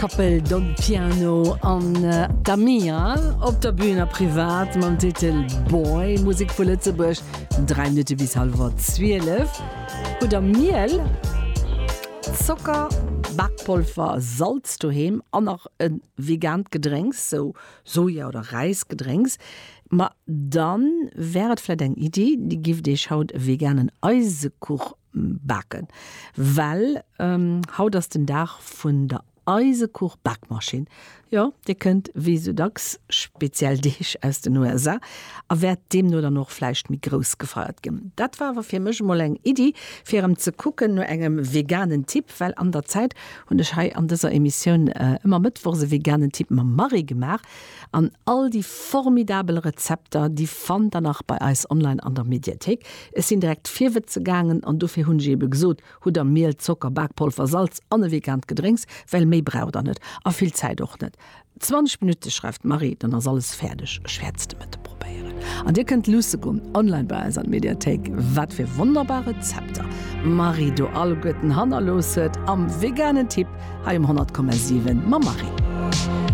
Koppel Don Piano an Damia op der Bühn a privat mam Titel Boy. Musek vu Lëtzebuerg, 3 Minutte bis hallwer 12. Hutt der Miel, Zocker, Bakpolver, Salz doheem an nach e vegaant Gedrénks, sou Soja oder Räisgedrénks? Ma dann wär et vläit eng Iddi, Dir gifft Iech haut e veganen Eisekuch baken, well haut ass den Dag vun der Eisekuch-Bakmaschinn. Jo, dir kënnt wéi sou dacks speziell Deeg aus den USA a wäert deemno dann och vläicht méi grouss gefeiert ginn. Dat war awer fir mech emol eng Iddi, fir erëm ze kucken no engem veganen Tipp, well an der Zäit hunn ech hei an dëser Emissioun ëmmer mëttwochs e veganen Tipp mam Marie gemaach. An all déi formidabel Rezepter, déi fannt der nach bei eis online an der Mediathéik. Ech sinn direkt virwëtze gaangen an dofir hunn ech ebe gesot, hutt der Miel, Zocker, Bakpolver, Salz an e vegaant Gedrénks, well méi braucht der net a vill Zäit och net. 20 Minutte schreift d'Marie, dann ass alles fäerdeg. Ech wäert se de Mëtte probéieren. An dir kënnt luusse goen online bei eis an d'Mediathéik, wat fir wonnerbar Rezepter d'Marie do alleguerten hannerlooss huet am veganen Tipp hei um 100,7 mam Marie.